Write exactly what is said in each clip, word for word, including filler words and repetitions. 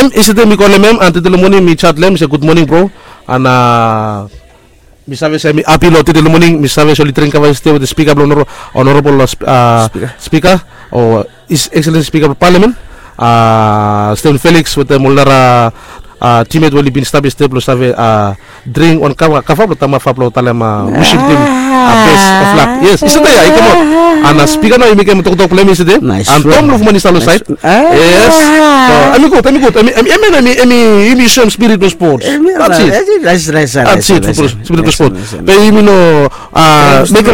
Em isi de mi kolem em an tede long moning mi chat long em mi se gud moning bro. An mi save se mi api long tede long moning mi save se oli dring kava iste wetem spika blong honorable spika o is excellent spika blong palamen, Steven Felix wetem ol nara a timet we oli bin stap yestede blong save a dring wan kava kava blong tamafa blong talem a wisim tim a bes of lak. Yes, yestede ya i kamap. Ana spika nao i mekem toktok blong em yestede. An Tom Lufman i stap long saed. Yes. Em i gud, em i gud. Em i em i em i em i yumi soem spirit blong spots. That's it. That's it. Spirit blong spots. Be yumi no a mekem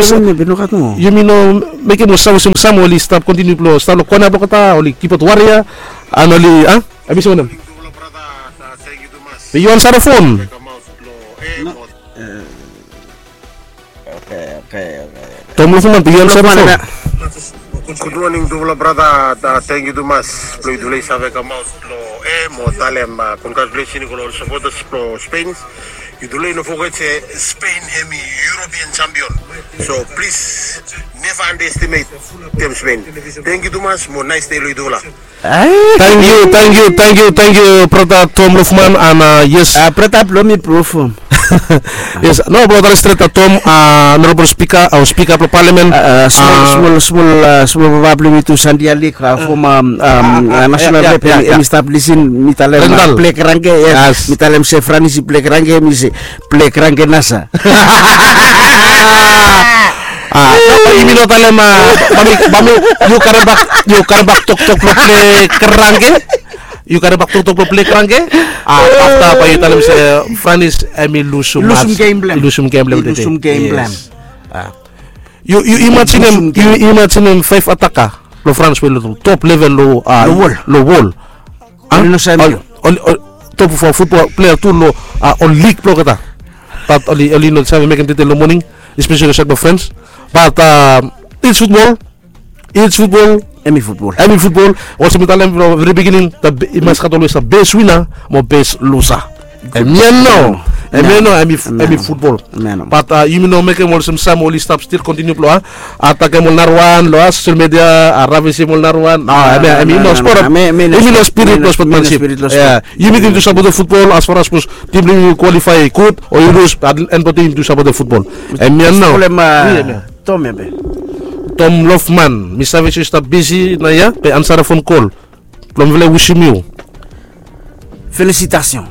yumi no mekem ol save olsem sam oli stap kontiniu blong stap long kona blong olgeta oli kipot waria. An oli a em i olsem wanem? Be yu ansara fon. Tom Lufman, be yu ansara fon. Gud moning tufala brata. Tangkiu tumas blong yutufala i save kamaot blong em o talem congratulation i go long ol sapotas blong Spain. Yutufala i no foget se Spain hem i European champion. So plis neva underestimate tem Spain. Tangkiu tumas mo nice day long yutufala. Tangkiu, tangkiu, tangkiu, tangkiu brata Tom Lufman. An yes, brata blong mi blong fom. Yes, no, blong tale stret a Tom, a honorable spika o spika blong palamen, smol smol smol papa blong mi tu Sandia Lik, foma national rep, em i stap lisin. Mi talem blek rangke. Yes, mi talem se Franis i blek rangke, mi se blek rangke nasa. A yumi no talem a bami bami yu karem bak yu karem bak toktok blong blek rangke. Yu karem bak toktok blong blek rangke. A afta bae yu talem se Franis em i lusum lusum gem blong em. Lusum gem blong em. Yu yu imajinem yu imajinem faef ataka blong Frans we long top level long a long wol. Oli no save mekem. Oli oli top of a futbol plea tu long a ol lig blong olgeta. Bat oli oli no save mekem tede long moning, espeseli long saed blong Frans. Bat a its futbol. Its futbol. Em i futbol. Em i futbol. Olsem mi talem from veri bigining, i mas gat olwes a bes wina mo bes lusa. Em ya nao. Em ya nao. Em i futbol. Bat yumi no mekem olsem sam oli stap stil kontiniu blong a atakem ol narawan long a sosel media, a ravisim ol narawan. Em i no spot. Em i no spirit blong spotmansip. Yumi tim tu sapotem futbol as far as sapos tim blong yumi kwalifae gud o i lus, bat en blong tim tu sapotem futbol. Em ya nao. Tom ya be. Tom Lofman, mi save se yu stap bisi naoia be ansara fon kol. Blong mifala i wisim yu felisitasion.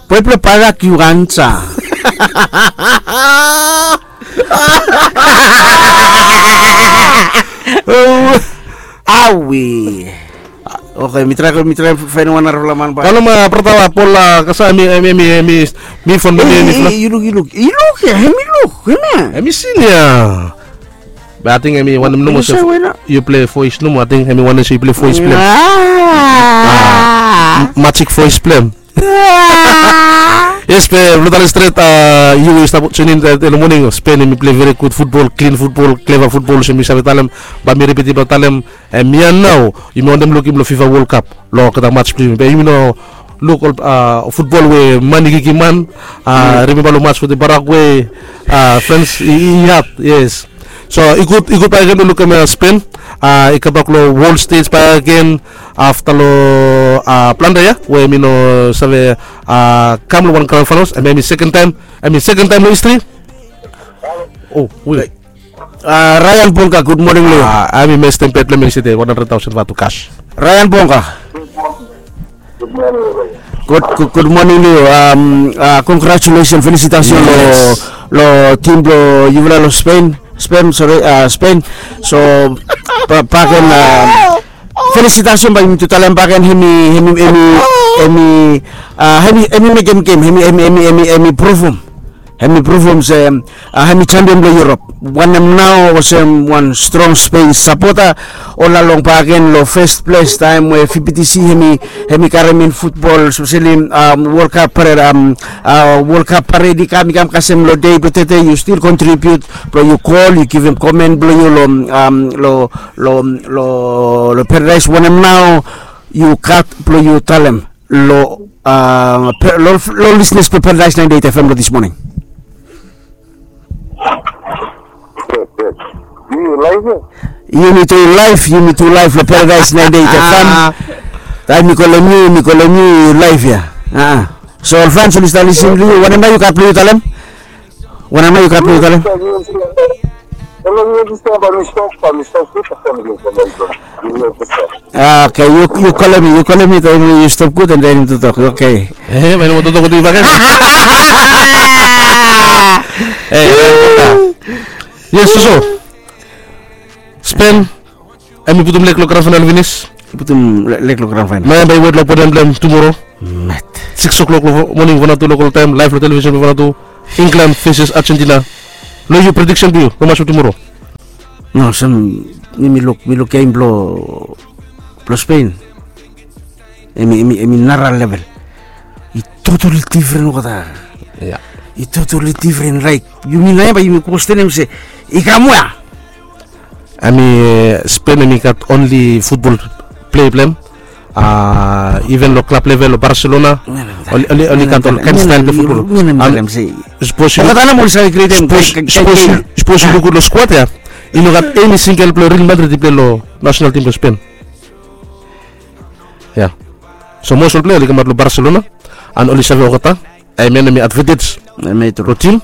Boe blong parak yu ansa. Awe. Oke, mi trae mi trae faenem wan narafala man bae. Kalem a brata Pol, a kasa mi mi mi mi mi fon mi mi fon. Yu luk yu luk yu luk ya, hem i luk hem ya. Hem i sin ya. Be ating hem i wanem nomo se yu plei voes nomo, ating hem i wanem se yu plei voes blong hem. Majik voes blong hem. Yes, be blong talem stret, yu we yu stap tunin long moning, Spen hem i plei veri gud futbol, klin futbol, kleva futbol olsem mi save talem. Bae mi ripitim blong talem, hem ya nao yumi wantem lukim long FIFA World Cup long olgeta mats blong yumi, be yumi no luk ol futbol we man i kikim man. Rimemba long mats wetem Paraguay, Frans i hat. Yes. So i gud i gud bakegen blong lukim Spen i kambak long wol stej bakegen afta long planda yia we mi no save kam long wan grand finals, and hem i sekon taem, hem i sekon taem long histri. O we Ryan Bonga, gud moning long yu. Hem i mestem bet long hem yestede wan handred taosen vatu kas. Ryan Bonga. Gud moning long yu. Kongratulesen, felisitasion long tim blong yufala long Spen. Spen, sore, Spen. So bakegen, felisitasion bae yumi tu talem bakegen, hem i hem i hem i hem i hem i mekem gem, hem i hem i hem i hem i hem i provem. Hem i provem se hem i jampion blong Yurop. Wanem nao olsem wan strong Spen sapota, ol long bakegen long fes ples taem we VBTC hem i hem i karem in futbol, espeseli World Cup pared, World Cup pared i kam, i kam kasem long dei blong tede, yu stil kontribiut blong yu kol, yu givim komen blong yu long long long long Paradaes. Wanem nao yu gat blong yu talem long long lisnas blong Paradaes naenti eit FM long dis moning? Yumi tu laef, yumi tu laef long Paradaes naenti eit FM. Taem mi kolem yu, mi kolem yu, yu laef ya. So ol fans oli stap lisin long yu, wanem nao yu gat blong yu talem? Wanem nao yu gat blong yu talem? Okay, yu kolem mi, yu kolem mi taem we yu stop gud and then yu totok. Okay. Eh, bae yu no moa totok gud bakegen. Eh, yes, soso. Spen, hemi putum leg long grand final finis. Putum leg long grand final. Nao bae yu wet long oponen blong hem tumoro. Met. Sikis o'clock long moning, Vanuatu local taem, laef long television blong Vanuatu. England versus Argentina. Long yu, prediksen blong yu long match blong tumoro? No, olsem, mi, mi luk, mi luk gem blong, blong Spain. Hemi, hemi, hemi nara level. I totally different olgeta. Ya. I totally different, like, yumi nao ia bae yumi kwestenem se i kam wea. Hemi, eh, Spain hemi gat only futbol plea blong hem. Ah, even long klab level long Barcelona, oli, oli, oli gat ol kaen stael blong futbol. Sapos yu luk, sapos yu luk gud long skuad ia, i no gat eni singel plea Real Madrid i plea long nasenal tim blong Spain. Ya. So mos ol plea oli kamaot long Barcelona, and oli save olgeta. Hemia hemi advantage long tim.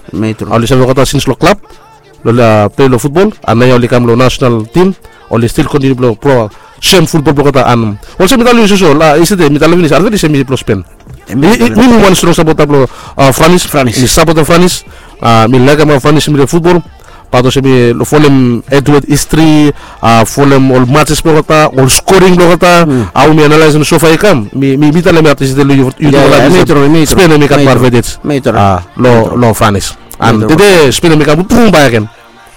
Oli save olgeta sins long klab, long plea long futbol, and naoia oli kam long nasenal tim, oli stil kontiniu blong, blong sem futbol blong olgeta. And olsem mi talem yu soso, yestede mi talem finis, advantage hemi blong Spain. Mi, mi wan strong sapota blong, ah, Franis. Mi sapotem Franis. Ah, mi laekem hao Franis hemi plea futbol. Bat olsem mi folem Edward histri, ah, folem ol matches blong olgeta, ol skoring blong olgeta, hao mi analaesem sofa i kam, mi, mi, mi talem ia yestede long yu, yu talem Spain hemi gat moa advantage. Ah, long, long Franis. And tede Spain hemi kam blong pruvum bakegen.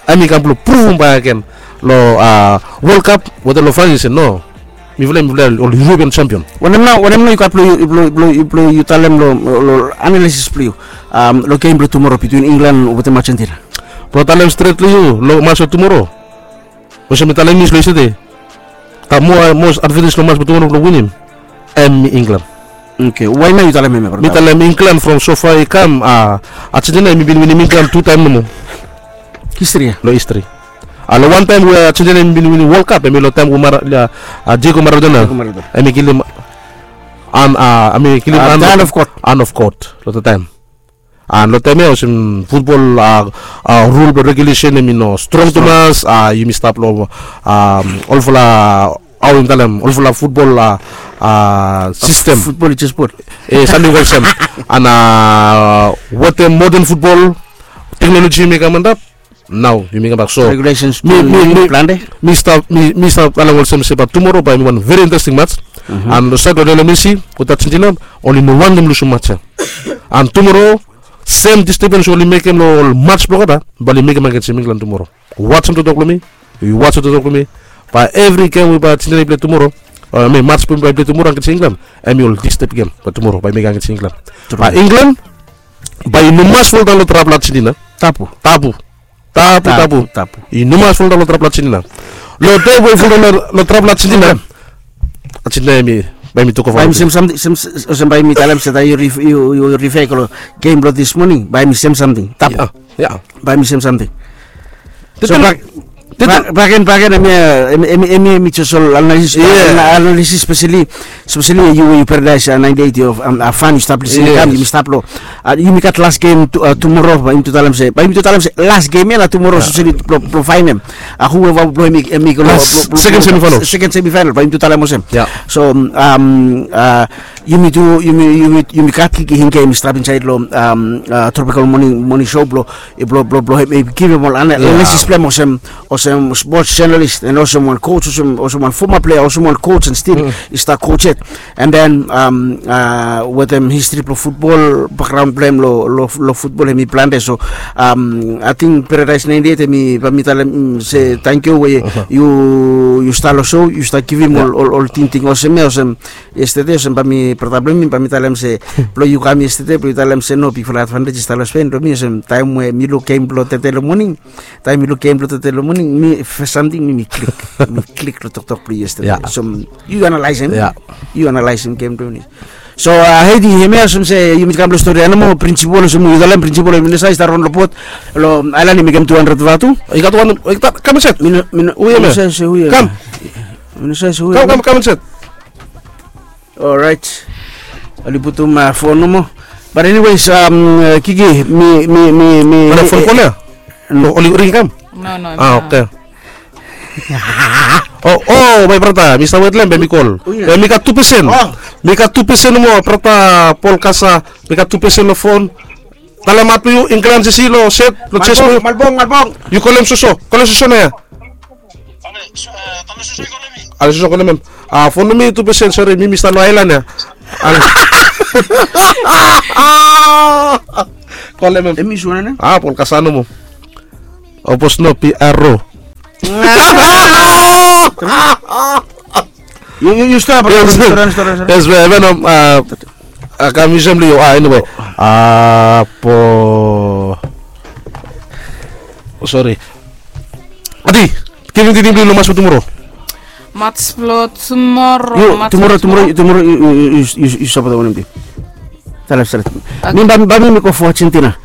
Hemi kam blong pruvum bakegen long, ah, World Cup wetem long Franis se no. Mifala hemi plea ol European champion. Wanem nao, wanem nao yu gat blong yu, blong, blong, blong yu talem long, long analisis blong yu, um, long gem blong tumoro bitwin England wetem Argentina? Blong talem stret long yu, long match blong tumoro, olsem mi talem finis long yestede, gat moa, moa advantage long match blong tumoro blong winim, hemi England. Okay, wae nao yu talem hemia? Mi talem England from sofa i kam, ah, Argentina hemi bin winim England tu taem nomo. Histri ia? Long histri. Ah, long wan taem we Argentina hemi bin winim World Cup, hemi long taem we Mara-, ah, Diego Maradona. Diego Maradona. Hemi kilim, and, ah, hemi kilim, ah, hand of God. Hand of God long that taem. And long taem ia olsem futbol, ah, ah, rul blong regulesen hemi no strong tumas, ah, yumi stap long, ah, olfala, hao yumi talem, olfala futbol, ah, ah, sistem. Futbol i jes bot. Eh, samting olsem. And, ah, wetem moden futbol, teknoloji hemi kam antap, nao yumi kambak. So, regulesens mi, mi, mi, mi stap, mi, mi stap talem olsem se bae tumoro bae hemi wan very interesting match. And long saed blong Lionel Messi wetem Argentina, oli no wantem lusum match ia. And tumoro, sem distapens oli mekem long ol match blong olgeta, bae oli mekem agensem England tumoro. Wajem toktok blong mi, yu wajem toktok blong mi. Bae evri gem we bae Argentina i plea tumoro, ah, I mean, match we bae i plea tumoro agensem England, hemi ol distap gem bae tumoro bae i mekem agensem England. Bae England bae i no mas foldaon long trap blong Argentina. Tabu. Tabu. Tabu, tabu, tabu. I no mas foldaon long trap blong Argentina. Long taem we i foldaon long trap blong Argentina, Argentina hemi, bae mi tokabaot. Bae mi sem samting, sem, olsem bae mi talem se taem yu rif-, yu, yu rifa i go long gem blong this morning, bae mi sem samting. Tabu. Ya, ya. Bae mi sem samting. So, bak, bak, bakegen, bakegen, hemi, hemi, hemi, hemi jes ol analisis, analisis, especially, especially yu, yu Paradise, ah, ninety-eight, yu, um, ah, fan, yu stap lisin, kam, yumi stap long, ah, yumi gat las gem tu-, ah, tumoro, bae yumi tu talem se, bae yumi tu talem se las gem ia nao tumoro, especially blong, blong faenem, ah, whoever blong hemi, hemi go long, blong, blong, second semifinal. Second semifinal, bae yumi tu talem olsem. Ya. So, um, ah, yumi tu, yumi, yumi, yumi gat Kiki Hinge hemi stap insaed long, um, ah, Tropical Morning, Morning Show blong, eh, blong, blong, blong hemi givim ol ana-, analisis blong hem olsem, olsem sports journalist, and olsem wan coach, olsem, olsem wan former player, olsem wan coach, and still i stap coach yet. And then, um, ah, wetem histri blong futbol, bakgraon blong hem long, long, long futbol hemi plante. So, um, ating Paradise ninety-eight hemi, bae mi talem, mm, se tangkiu we yu, yu stap long show, yu stap givim ol, ol, ol tingting olsem ia, olsem, yestede olsem bae mi, brata blong mi, bae mi talem se, blong yu kam yestede blong yu talem se no, bigfala advantage i stap long Spain. Blong mi olsem taem we mi luk gem blong tede long moning, taem mi luk gem blong tede long moning, mi fes samting, mi, mi klik, mi klik long toktok blong yu yestede. Ya. So yu analaesem, ya, yu analaesem gem blong mi. So, ah, Heidi, hemia olsem se yumi kam long stori ia nomo, Principal olsem yu talem, Principal hemi no save, i stap raon long bot long aelan, i mekem tu handred vatu. I gat wan, i gat, kam insait. Mi no, mi no, hu ia? Mi no save se hu ia. Kam. Mi no save se hu ia. Kam, kam, kam insait. Orait. Oli putum, ah, fon nomo. But anyways, um, Kiki, mi, mi, mi, mi, fon ia? No. Oli ring kam? No, no. Ah, okay. Oh, oh, my brother, mi stap wet long hem, be mi kol. Oh, yeah. Be mi gat tu pesen. Oh. Mi gat tu pesen nomo, brother Paul Kasa. Mi gat tu pesen long fon. Talem hat blong yu, England sisi long set, long chest blong yu. Malbong, Malbong. Yu kolem soso, kolem soso nao ia. Ale soso kolem hem. Ah, fon blong mi tu pesen, sori, mi mi stap long aelan ia. Ale. Kolem hem. Hem i sua nao? Ah, Paul Kasa nomo. Opos no P R O. Yu, yu, yu stap, yu stap, yu stap. Yes, we, we, no, ah, ah, kam yu sem, Leo. Ah, anyway. Ah, po. Sorry. Adi, givim tingting blong yu long match blong tumoro. Match blong tumoro. Yu, match tumoro, blong tumoro, tumoro. Tumoro, yu, yu, yu, yu, yu sapot wanem tim? Talem stret. Okay. Mi bae, bae mi, mi go for Argentina.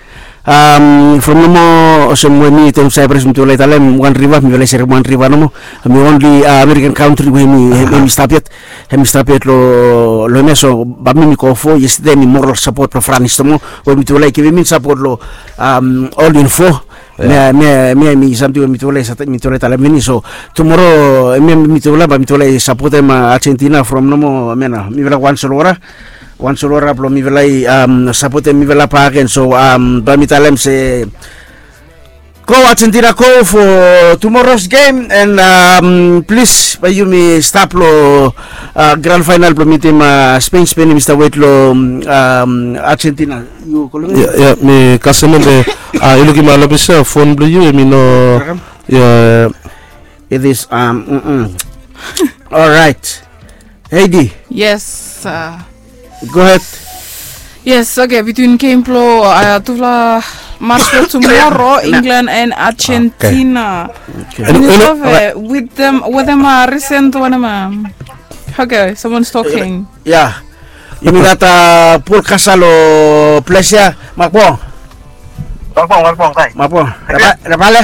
Am, from nomo olsem we mi taem Cyprus, mitufala i talem wan riva, mifala i serem wan riva nomo. Mi only, ah, American country we mi, ah, hemi stap yet. Hemi stap yet lo, lo hemia, so bae mi, mi go for, yestede mi moral support lo France nomo, we mitufala i givim in support lo, am, All in Four. Yeah. Mi, mi, mi, hemi samting we mitufala i sa-, mitufala i talem finis. So tumoro, mi, mitufala, bae mitufala i sapotem, ah, Argentina from nomo, hemia nao, mifala wan solwara. Wan solwara blong mifala i, am, sapotem mifala bakegen. So, am, bae mi talem se, go Argentina, go for tomorrow's game, and, am, plis, bae yumi stap lo, ah, grand final blong mitim, ah, Spain. Spain hemi stap wet lo, am, Argentina. Yu kolem hem? Ia, ia, mi kasem hem be, ah, yu lukim, ah, long ples ia, fon blong yu hemi no. Ia. It is, am, mm, mm. Alright. Heidi. Yes, ah. Go ahead. Yes, okay, between game blong, ah, tufala match blong tumoro, England and Argentina. Okay. With them, with them, ah, recent one, um, okay, someone's talking. Yeah. Yumi gat, ah, Paul Kasa lo ples ia. Malbong. Malbong, Malbong, kai. Malbong. Reba-, rebale?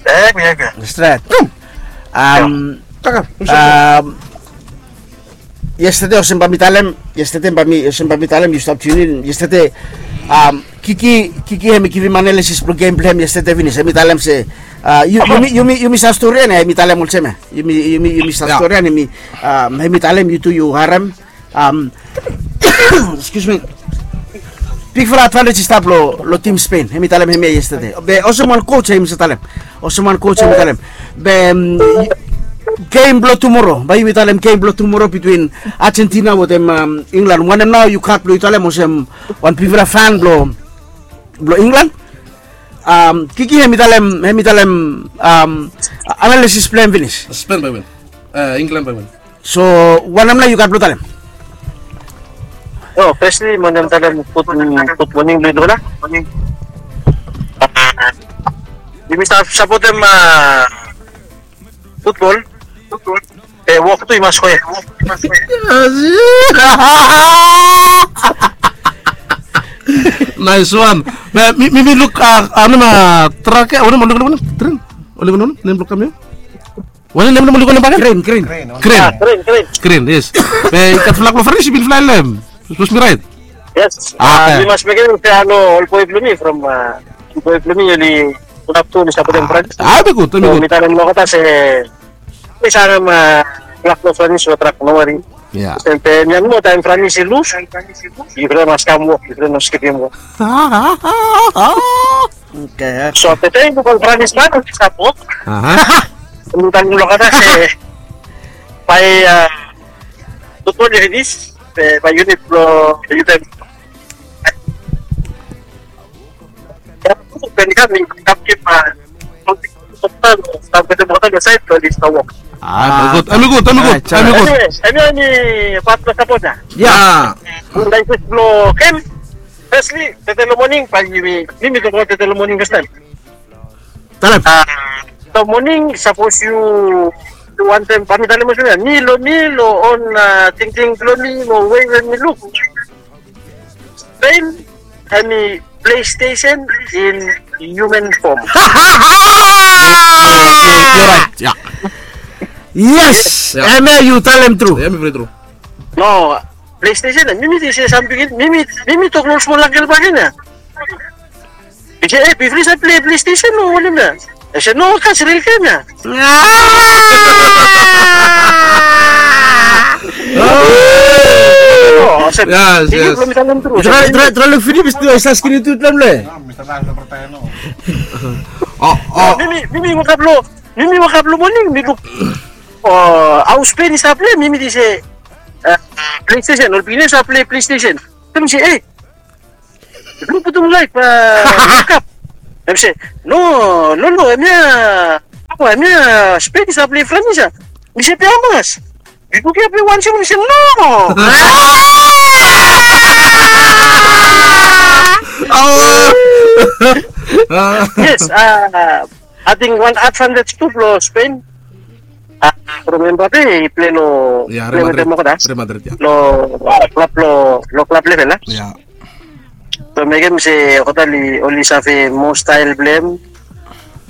Eh, kuya, kuya. Stret. Am, am, yestede olsem bae mi talem, yestede bae mi, olsem bae mi talem, yu stap tune in, yestede, am, Kiki, Kiki hemi givim analysis blong game blong hem yestede finis, hemi talem se, ah, yu, yumi, yumi, yumi save storian ia, hemi talem olsem ia. Yumi, yumi, yumi save storian ia, hemi, am, hemi talem, yu tu yu harem, Am, excuse me. Bigfala advantage i stap lo, lo tim Spain. Hemi talem hemia yestede. Be olsem wan coach hemi save talem. Olsem wan coach hemi talem. Be, mm, game blo tumoro. Bae yumi talem game blo tumoro between Argentina wetem, am, England. Wanem nao yu gat blo yu talem olsem wan bigfala fan blo, blo England? Am, Kiki hemi talem, hemi talem, am, analysis blo hem finis. Spain bae win. E, England bae win. So wanem nao yu gat blo talem? O, firstly, mi wantem talem gud, gud moning blo yutufala. Yumi stap sapotem, a, futbol. Be wok tu i mas go hed. Nice one. Be mi, mi, mi luk, a, wanem, a, trak ia, wanem, wanem, wanem, tren. Wanem, wanem, nem blo kam ia. Wanem nem, nem oli go nem bakegen? Kren, kren. Kren. A, kren, kren. Kren, yes. Be i gat flag blo Franis, i bin flae lo hem. Sapos mi raet? Yes. A, a, oke. Mi mas mekem se, a, no, ol boe blo mi from, a, boe blo mi oli pulap tu oli sapotem Franis. A, hemi gud, hemi gud. So mi talem lo olgeta se mi save harem, a, flag blo Franis, so trak, no wari. Ia. Be mi, a, no, taem Franis i lus, yufala mas kam wok, yufala no skipim wok. Oke. So taem i luk ol Franis man oli sapot. Aha. Mi talem lo olgeta se bae, a, futbol i finis, be bae yunit blo yufala Be i kam, i kam kip, a, a, hemi gud, hemi gud, hemi gud. Anyway, hemi, hemi pat blo sapot ia. Ia. Analysis blo game. Firstly, tede lo moning, bae mi, mi, mi tokbaot tede lo moning fastaem. Talem. A, lo moning, sapos yu, yu wantem, bae mi talem olsem ia, mi lo, mi lo on, a, tingting blo mi, lo wei we mi luk. Spain, hemi PlayStation in human form. Yes, yes, yes, you're right. Ia. Yes, ia. Hemia yu talem tru. Ia, hemi very true. No, PlayStation, mi, mi ting se samting, mi, mi, mi, mi tok lo ol smol angkel bakegen ia. Mi se, e, bifo i save play PlayStation o wanem ia. Hemi se no, kasem ril game ya. Trae luk finis tu, yu save skin tu tlam le. Mi mi wake up long, mi mi wake up long moning, mi luk, hao Spain i save plei, mi mi ting se, PlayStation, ol pikinini i save plei PlayStation. Tale mi se, ei, blu putum laef, wake up. Hemi se, no, no, no, hemia, hemia Spain i save plei Franis ya. Mi se, be hamas? Yu luk ya be wan sem, mi se, no. Yes, ating wan advantage tu blo Spain. From Mbappe i plei lo, plei wetem olgeta lo klab, lo klab level a. So mekem se olgeta oli save mo stael blo hem.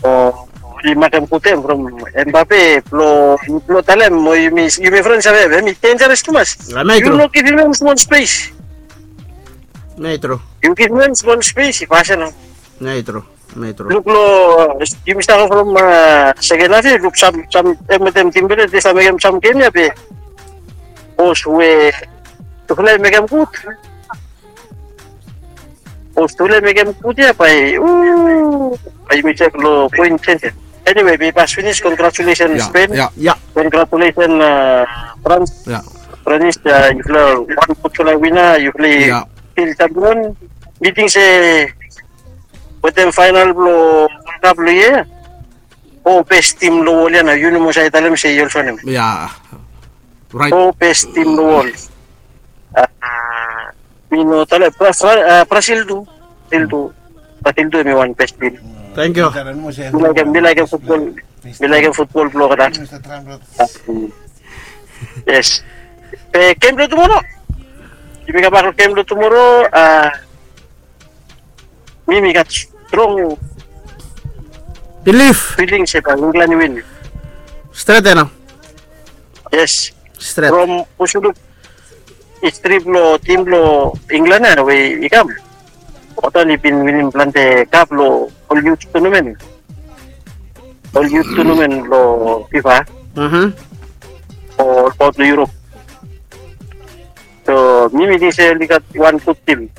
Oli makem gud hem from Mbappe blo, blo talem mo yumi, yumi fren save hem, hemi denjares tumas. Yu no givim hem smol spes. Yu givim hem smol spes, i fasin nao. Luk lo, yumi stap from seken haf ya, luk sam, sam, hem wetem Dembele, de save mekem sam gem ya be. Sapos we tufala i mekem gud. Sapos tufala i mekem gud ya, bae, bae yumi jek lo poen senses. Anyway, be i pas finis, congratulations Spain. Congratulations France. France, yufala wan gudfala wina, yufala i stil champion. Mi ting se wetem faenal blo World Cup lo yia ya, fo bes tim lo wol ya nao, yu nomo save talem se yu olsem wanem? Fo bes tim lo wol. Mi no talem, Brazil tu. Brazil tu. Brazil tu hemi wan bes tim. Tangkiu. Mi laekem, mi laekem futbol. Mi laekem futbol blo olgeta. Yes. Be gem blo tumoro, yumi kambak lo gem blo tumoro. Mi, mi gat strong bilif, filing se bae Inglan i win. Stret ya nao. Yes. Stret. From, sapos yu luk histri blo tim blo Inglan ya we i kam, olgeta oli bin winim plante kap lo ol yut tunamen. Ol yut tunamen blo FIFA. Olbaot lo Europe. So mi, mi ting se oli gat wan gud tim.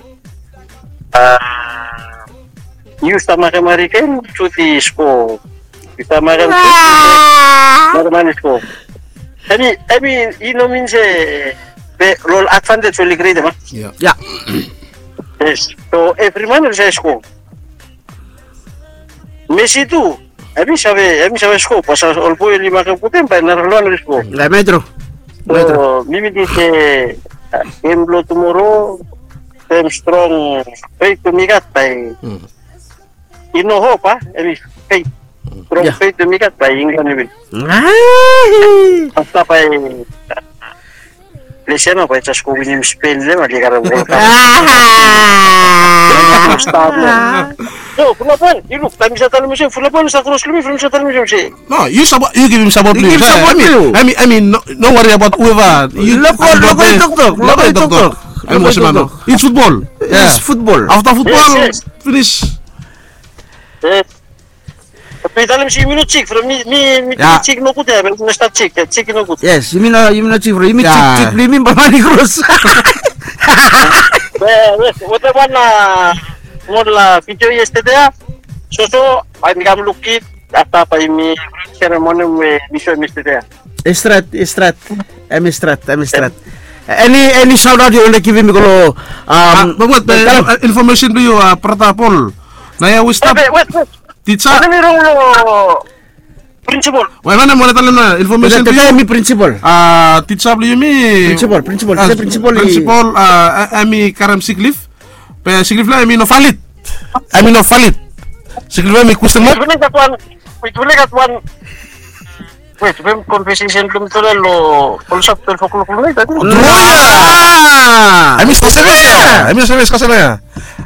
Yu stap makem Harry Kane, sut i sko. Yu stap makem sut, makem man i sko. Hemi, hemi i no min se, be lo ol advantage oli krietem a. Yes. So evri man oli save sko. Messi tu, hemi save, hemi save sko, basa ol boe oli makem gud hem bae narafala wan oli sko. Hemi tru. So mi, mi ting se gem blo tumoro, sem strong feit we mi gat bae, i no hop a, hemi feit. Strong feit we mi gat bae Inglan i win. Afta bae Ples ya nao bae jes go winim Spain, oli karem World Cup. Sta blo. Yo, fulap wan, yu luk, taem mi save talem olsem, fulap wan i save kros lo mi from mi save talem olsem se. No, yu save, yu givim sapot blo yu. Yu givim sapot blo yu. Hemi, hemi, no worry about whoever. Yu luk, luk, luk, toktok, luk, toktok. Hemi olsem nao. It's football. It's football. Afta futbol, finis. Mi talem se yumi no jik, from mi, mi, mi jik nogud ya, mi no stap jik, jik i nogud. Yes, yumi no, yumi no jik, from yumi jik, jik blo yumi bae man i kros. Wetem wan smol vidio yestede ya, soso, bae mi kam luk it, afta bae yumi seremoni we mi soem yestede ya. I stret, i stret, hemi stret, hemi stret. Eni, eni saotaot yu wantem givim i go lo, be wet, be infomesen blo yu, brata Paul. Naoia we stap. Be wet, wet. Tija. Wanem i rong lo prinsipol? Wanem, wanem talem nao, infomesen blo yu. Tija, hemi prinsipol. Tija blo yumi. Prinsipol, prinsipol, tija, prinsipol i. Prinsipol, hemi karem sick leave. Be sick leave lo hem hemi no valid. Hemi no valid. Sick leave lo hem hemi kwestin mak. Wet, wet, wet, wet, wet, wet, wet, wet, wet, wet, konvesesen blo mi tole lo olsap twelve o'clock lo naet, ating. Tru ya. Hemi kasem ya. Hemi kasem, kasem ya.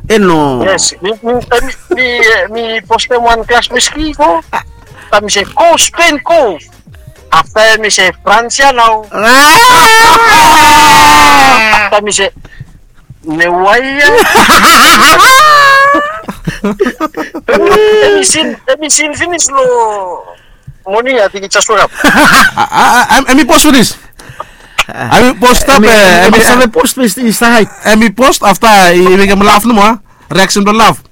E no. Yes, mi, mi, mi, mi postem wan klas wiski go. Afta mi se go Spain go. Afta mi se France ya nao. Afta mi se ne wai ya. Em i sin, em i sin finis lo moning, I think it's just woke up. Em i pos finis. Em i pos stap. Em i save pos, Mista Hait. Em i pos afta i mekem laf nomo, a? Reaction blo laf.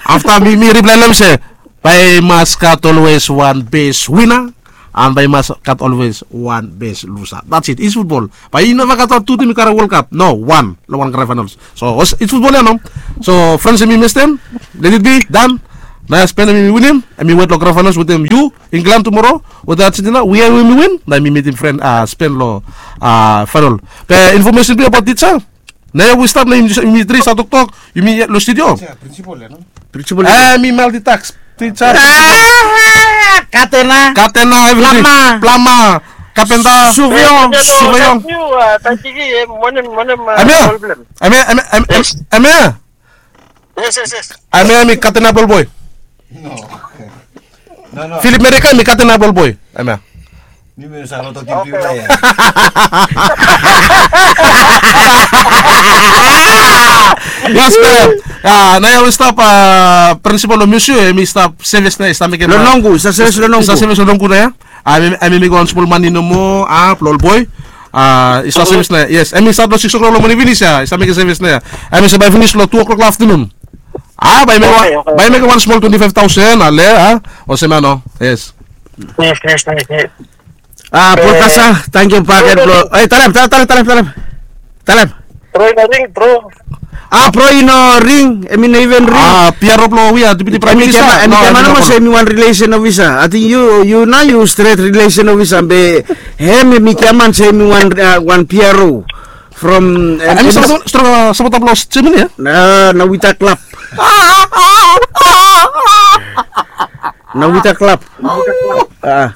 Afta mi, mi reply lo hem se, bae i mas gat always wan best winner, and bae i mas gat always wan best loser. That's it. It's football. Bae i neva gat wan tu tim i karem World Cup. No, wan lo wan grand finals. So it's football ya, no? So friends, em i mestem, let it be done. Naoia Spen em i winim, em i wet lo grand finals wetem yu, England tumoro wetem Argentina. We, em i win, na em i mitim fren, a, Spen lo, a, final. Be information blong yu abaot tisa. Naoia we stap, naoia yumi tri stap toktok, yumi lo studio. Principal ya, no? Principal ya. Em i multitask. Tisa. Katena. Katena, everything. Plama. Plama. Kapenta. Suviong. Suviong. Em ya. Em ya. Yes, yes, yes. Em ya, em i katena bol boy. No. No, no. Philip Merika, em i katena bol boy. Em ya. Ni mi sa lo toki piu ya. Yes, man. Naoia we stap, a, principal lo Miusu, em i stap sevis naoia, i stap mekem lo nongu, i stap sevis lo nongu. I stap sevis lo nongu naoia. Em i mekem wan smol mane nomo, a, blo ol boy. A, i stap sevis naoia. Yes, em i stat lo sikis o'clock lo moning finis ya, i stap mekem sevis naoia. Em i se bae finis lo tu o'clock lo aftenun. A, bae i mekem wan, bae i mekem wan smol twenti faef taosen, ale, a? Olsem ya no. Yes. Yes, yes, yes, yes. A, Paul Kasa, tangkiu bakegen blo, e, talem, talem, talem, talem, talem. Bro i no ring, bro. A, bro i no ring, em i no even ring. A, P R O blo we ya, Deputy Prime Minister. Em i giaman nomo se em i wan relation of isa. I think yu, yu nao yu stret relation of isa, be hem em i giaman se em i wan, a, wan P R O. From, em i sapota blo Germany ya? Na, na Vita Club. Na Vita Club. A.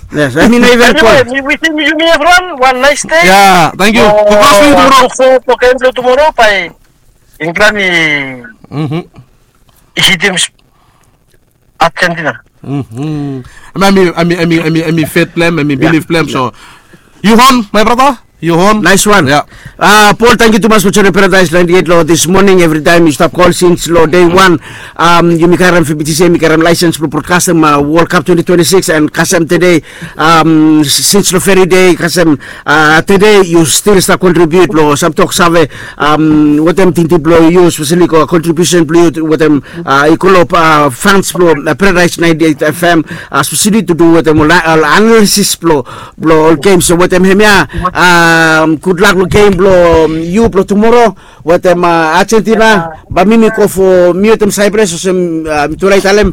Yes, em i no even. Anyway, mi wisim yumi evriwan wan nice day. Ya, tangkiu. Congrats to yu tumoro. Tumoro bae England i hitim Argentina. Em i, em i, em i, em i, em i feit blo hem, em i bilif blo hem, so. Yu hon, my brother? Yu hon. Nice one. Ya. A, Paul, tangkiu tumas fo joinim Paradise ninety-eight lo this morning. Evri taem yu stap kol sins lo day one. Yumi karem, F B T C yumi karem laesens blo brodkastem World Cup twenty twenty-six, and kasem tede, sins lo veri dei, kasem tede yu stil stap kontribiut lo sam tok save wetem tingting blo yu, speseli kontribiusen blo yu wetem i go lo fans blo Paradise ninety-eight F M, speseli tu du wetem ol analisis blo, blo ol gems. So wetem hemia, gudlak lo gem blo yu blo tumoro wetem Argentina. Bae mi, mi go fo, mi wetem Cyprus, olsem mitufala i talem,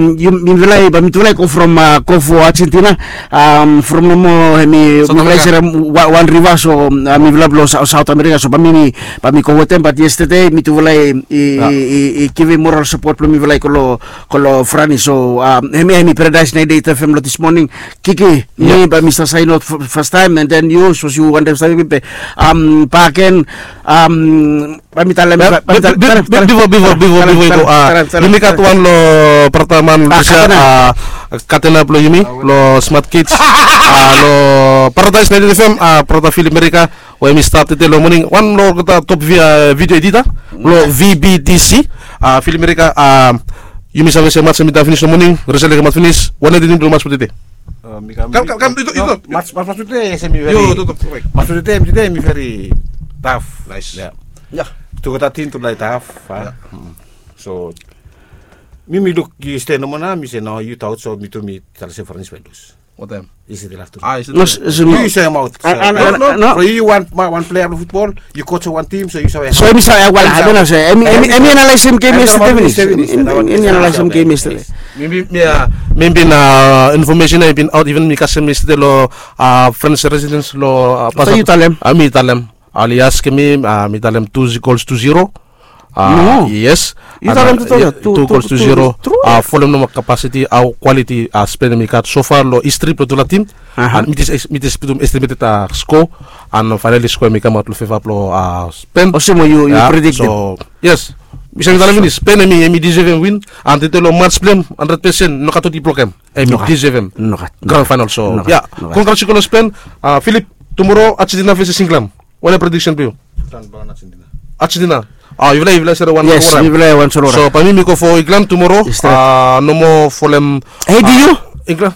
mifala i, bae mitufala i go from, go fo Argentina. From nomo hemi, mifala i serem wan riva, so mifala blo South America. So bae mi, bae mi go wetem, bat yestede mitufala i, i givim moral sapot blo mifala i go lo, go lo Franis. So hemia hemi Paradise ninety-eight F M lo this morning. Kiki, mi bae mi stap sain aot fastaem, and then yu, sapos yu wantem stap, be bae gen, bae mi talem, bae mi talem, bifo, bifo, bifo, bifo i go, yumi gat wan lo brata man, Katena blo yumi lo Smart Kids, lo Paradise ninety-eight F M, brata Philip Merika, we hemi stap tede lo moning, wan lo olgeta top video editor lo V B T C, Philip Merika. Yumi save se mats hemi dai finis lo moning, resel i kamaot finis, wanem tim blo mats blo tede? Kam, kam, kam, yu tok, yu tok. Mats, mats blo tede hemi veri, mats blo tede hemi veri taf. Naes. Tugeta tim tu lae taf. So mi, mi luk yu stap nomo nao, mi se no, yu taot, so mi tu mi talem se Franis bae i lus. Wanem? Yu se de laf tu. Yu se maot. No, no. Yu wan, wan plea blo futbol, yu coach wan tim, so yu save. So hemi save, well, I don't know, sir. Hemi analaesem gem yestede finis. Hemi analaesem gem yestede. Mi, mi, mi bin information ya i bin aot, even mi kasem yestede lo French residents lo. So yu talem? Mi talem. Oli askem mi, mi talem two equals to zero. No. Yes. Yu talem tu, two equals to zero. Folem nomo kapasiti, hao kwaliti Spen hemi gat so far lo histri blo tufala tim. And mi jes, mi jes putum estimeted score, and finally score hemi kamaot lo feva blo Spen. Olsem we yu prediktem. So yes. Mi save talem finis, Spen hemi, hemi deserve hem win. And tede lo mats blo hem, handred pesen, nogat oti blo hem. Hemi deserve hem. Nogat. Grand final, so ya. Congrats lo Spen. Philip, tumoro Argentina versus England. Wanem prediksen blo yu? Argentina. Ah, yufala yufala sere wan. Yes, yufala wan sere wan. So bae mi mi go fo England tumoro. Nomo folem. Hey, do you? England.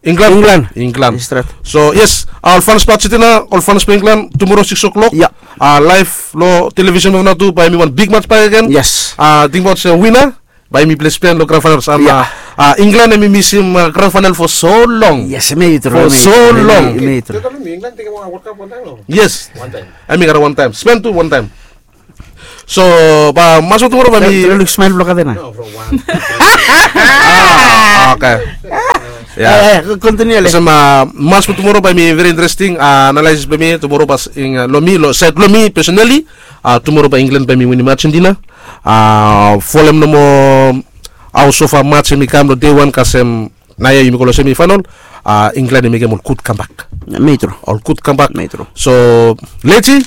England. England. England. So yes, ol fans blong Argentina, ol fans blong England, tumoro six o'clock. Live long television blong yufala tu, bae mi wan big match bakegen. Yes. Tingbaot se wina bae mi plei Spain long grand finals. An England hemi misim grand final fo so long. Yes, hemi tru. Fo so long. Yes. Hemi gat wan taem. Spain tu wan taem. So bae match blong tumoro bae mi. Luk smael blong katena. Oke. Olsem match blong tumoro bae mi very interesting. Analysis blong mi tumoro bae long mi long saed blong mi personally, tumoro bae England bae mi winim Argentina. Folem nomo hao so fa match hemi kam long dei wan kasem naoia yumi go long semi final. England i mekem ol gud kambak. Hemi tru. Ol gud kambak. Hemi tru. So leti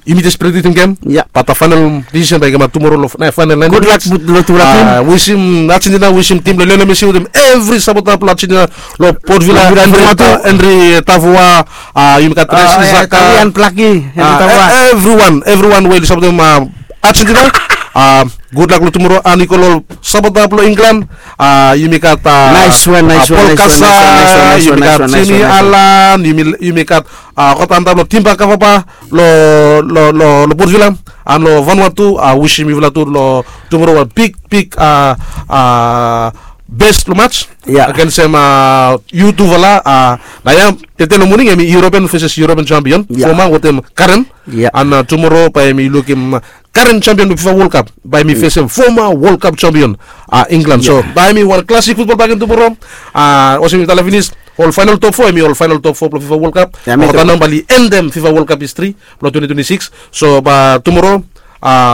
yumi jes prediktem gem. Bat final decision bae i kamap tumoro long final. Gudlak long tufala tim. Wisim Argentina, wisim tim blong Lionel Messi wetem evri sapota blong Argentina long Port Vila, Henry Tavoa. Yumi gat Racing Saka, Talian Plaki, Henry Tavoa. Evriwan, evriwan we oli sapotem Argentina. Gudlak long tumoro. An i go long sapota blong England. Yumi gat Paul Kasa, yumi gat Jimmy Allan, yumi gat kota antap long Timba Kavaba long Port Vila. An long Vanuatu, wisim yufala tu long tumoro wan big big best long match agensem yutufala. Naoia tete long moning hemi European versus European champion, foma wetem karen. An tumoro bae mi lukim karen champion blong FIFA World Cup bae mi fesem foma World Cup champion England. So bae mi wan classic futbol bakegen tumoro. Olsem mi talem finis, ol final top fo hemi ol final top fo blong FIFA World Cup. Kota nao bae oli endem FIFA World Cup history blong twenty twenty-six. So bae tumoro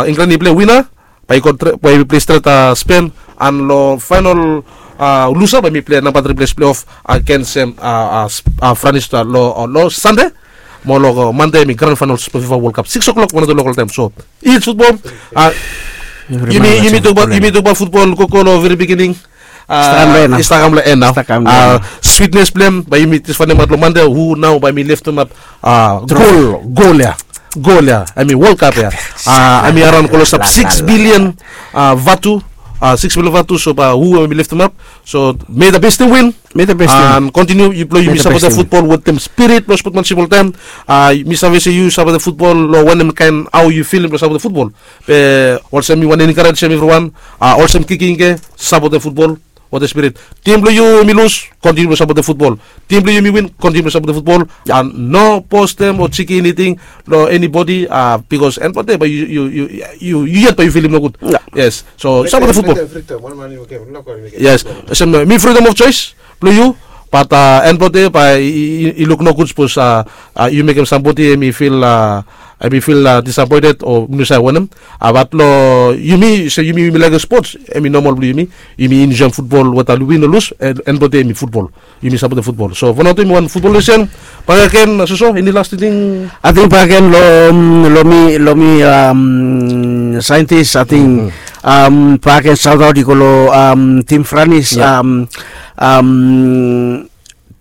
England i plei wina, bae i plei stret Spain. An long final lusa bae mi plei namba tri ples pleiof agensem Franis long Sande. Mo long Mande hemi grand final blong FIFA World Cup six o'clock wan o tu lokal taem. So its futbol. Yumi tokbaot futbol gogo long veri bigining. I stap kam long en nao. Switnes blong hem bae yumi jes faenemaot long Mande hu nao bae mi leftemap gol, gol ya. Gol ya hemi World Cup ya. Hemi araon klosap six billion vatu. Six billion vatu. So bae hu hemi leftemap. So may the best team win. An kontiniu blong yumi sapotem futbol wetem spirit blong spotmansip oltaem. Mi save se yu sapotem futbol long wanem kaen hao yu filim blong sapotem futbol. Be olsem mi wantem enkarejem evriwan, olsem Kiki Ingke, sapotem futbol wetem spirit. Tim blong yu hemi lus, kontiniu blong sapotem futbol. Tim blong yu hemi win, kontiniu blong sapotem futbol. An no postem o jiki eniting long enibodi, bikos en blong dei bae yu yet bae yu filim nogud. Yes. So sapotem futbol. Yes. Olsem mi freedom of choice blong yu. Bat en blong dei bae i luk nogud sapos yu mekem sambodi hemi fil, hemi fil disapoented o mi no save wanem. Bat long yumi se yumi yumi laekem spots, hemi nomol blong yumi. Yumi enjoem futbol weta oli win o lus, en blong dei hemi futbol. Yumi sapotem futbol. So Vanuatu hemi wan futbol nesen. Bakegen soso, eni las tingting? Ating bakegen long mi, long mi saentis ating bakegen saotaot i go long tim Franis.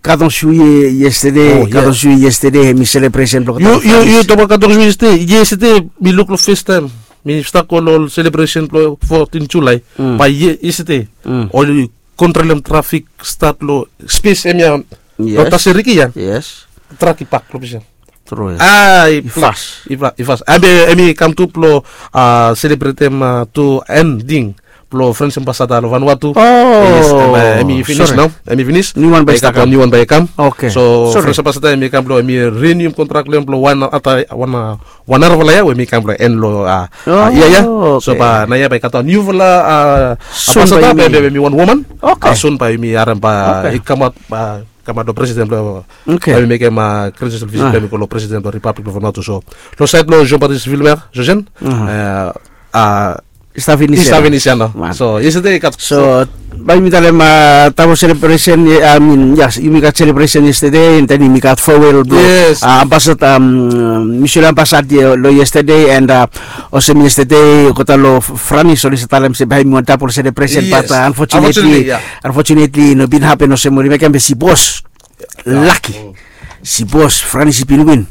Katon Juillet yestede, katon Juillet yestede hemi selebresen blong katon Juillet. Yu tokbaot katon Juillet yestede, yestede mi luk long festaem. Mi stap go long ol selebresen blong fotin Julae. Bae yestede oli kontrolem trafik stat long spes hemia long Taseriki ya. Trak i pak long ples ya. Tru ya. I fas. I fas. Hemi kam tu blong selebretem tu ending blong Frans Ambasada long Vanuatu. Hemi finis nao. Hemi finis. Niu wan bae i stap kam. Niu wan bae i kam. So Frans Ambasada hemi kam blong hemi rinium kontrak blong hem blong wan ata wan wan narafala yia we hemi kam blong en long yia ya. So bae naoia bae i gat wan niufala ambasada bae hemi wan woman. Sun bae yumi harem bae i kamaot, kamaot long presiden blong, bae hemi mekem graduation visit blong hemi go long presiden blong Ripablik blong Vanuatu. So long saed blong Jean Baptiste Vilmer, Jojen, i stap finis ya nao. So yestede i gat. So bae yumi talem tabo selebresen, I mean, yes, yumi gat selebresen yestede, and then yumi gat farewell blong ambasada, mutual ambasada long yestede, and olsem yestede olgeta long Franis oli save talem se bae hemi wan tabo selebresen, but unfortunately, unfortunately i no bin hapen olsem oli mekem, be sipos, laki, sipos Franis i bin win,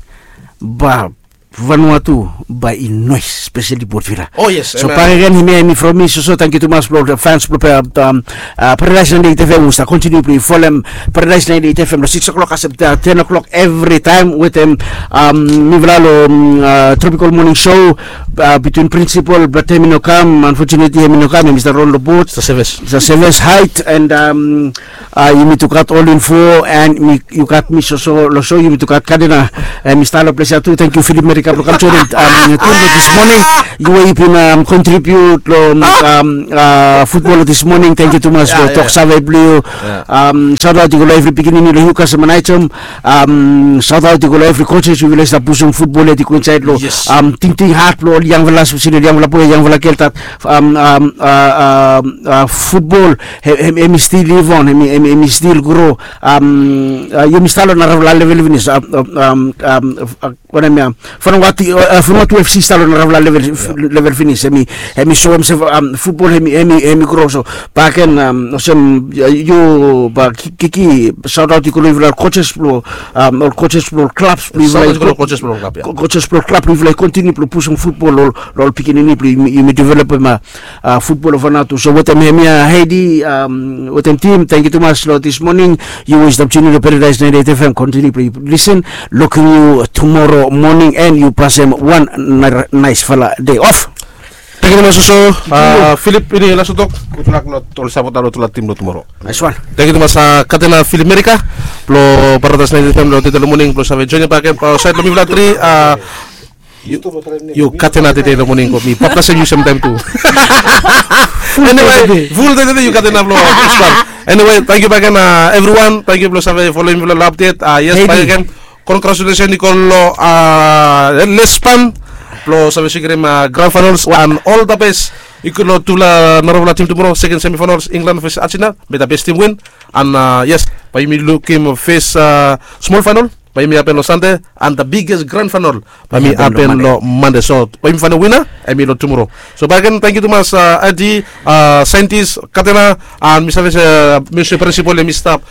bae Vanuatu bae i noes, espeseli Port Vila. Oh yes. So bakegen, hemia hemi from mi soso, tangkiu tumas blong ol fans blong Paradise ninety-eight F M we stap kontiniu blong yu folem Paradise ninety-eight F M long six o'clock kasem ten o'clock evri taem wetem mifala long Tropical Morning Show, between Principal, but hemi no kam, unfortunately hemi no kam, hemi stap rol long bot. Sa seves, sa seves, hait, and yumi tu gat ol info, and yu gat mi soso long so, yumi tu gat Kadena, and mi stap long ples ya tu. Tangkiu Philip Merika blong kam joenem tu long this morning. Yu we yu bin kontribiut long futbol long this morning, tangkiu tumas long tok save blong yu. Saotaot i go long evri pikinini long Newcastle and Naitom. Saotaot i go long evri coaches we i stap pusum futbol ya i go insaed long tingting hat blong ol yangfala, espeseli ol yangfala boe, yangfala gel, dat futbol hemi stil liv on, hemi stil gro. Yumi stap long narafala level finis. Wanem ya, Vanuatu F C i stap long narafala level finis. Hemi soem se futbol hemi gro. So bakegen, olsem yu bae Kiki, saotaot i go long yufala ol coaches blong ol klabs blong yufala, coaches blong ol klab blong yufala i kontiniu blong pusum futbol long ol pikinini blong yumi, developem futbol long Vanuatu. So wetem hemia, Heidi, wetem tim, tangkiu tumas long this morning. Yu we yu stap tiuni long Paradise ninety-eight F M, kontiniu blong yu lisen. Lukim yu tumoro moning, and yu pasem wan naesfala dei of. Tangkiu tumas soso Philip, eni laso tok? Gudlak long ol sapota long olgeta tim long tumoro. Naes wan. Tangkiu tumas Kadena Philip Merika blong Paradise ninety-eight F M long tede long moning blong save joenem bakegen saed long mifala tri. Yu Kadena, tede long moning mi baptaesem yu semtaem tu. Anyway, ful dei tede yu Kadena blong. Anyway, tangkiu bakegen evriwan, tangkiu blong save folem mifala long update. Yes, bakegen, congratulations i go long Lespan blong save sekirim grand finals, and all the best i go long tufala narafala tim tumoro, second semifinals, England versus Argentina. May the best team win. And yes, bae yumi lukim fes smol final bae yumi hapen long Sande, and the biggest grand final bae yumi hapen long Mande. So bae yumi faenem wina, hemi long tumoro. So bakegen, tangkiu tumas Adi, saentis Kadena, and mi save se Mister Principal hemi stap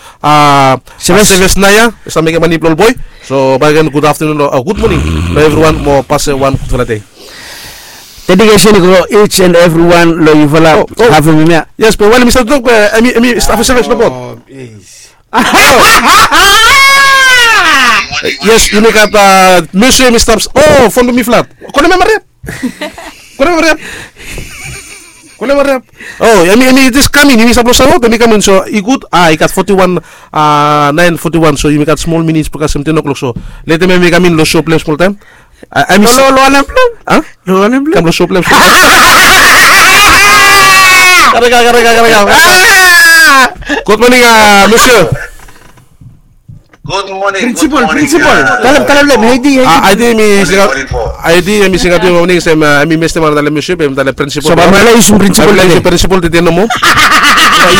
seves nao ya, i stap mekem mane blong ol boe. So bakegen, gud aftenun, gud moning long evriwan, mo pasem wan gudfala dei. Dedikesen i go long each and everyone long yufala. Hafem hemia. Yes, be wanem mi stap tok, be hemi stap seves long bot. Yes, yumi gat Messi, hemi stap. Oh, fon blong mi flat. Konem hem, hariap. Konem hem, hariap. Konem hem, hariap. Oh, hemi, hemi jes kam in, hemi stap long saotaot, hemi kam in, so i gud. Ah, i gat forty-one, ah, nine forty-one, so yumi gat smol minits blong kasem ten o'clock, so letem hemi kam in long show blong hem smoltaem. Hemi stap long wanem blong hem? Kam long show blong hem. Karega, karega, karega. Gud moning, ah, Messi. Gud moning, Principal, Principal. Talem, talem long hem, Heidi, Heidi. Ah, Heidi hemi singaot, Heidi hemi singaot moning, se hemi mestem, talem Messi, be hemi talem Principal. So bae mifala yusum Principal, Principal tede nomo.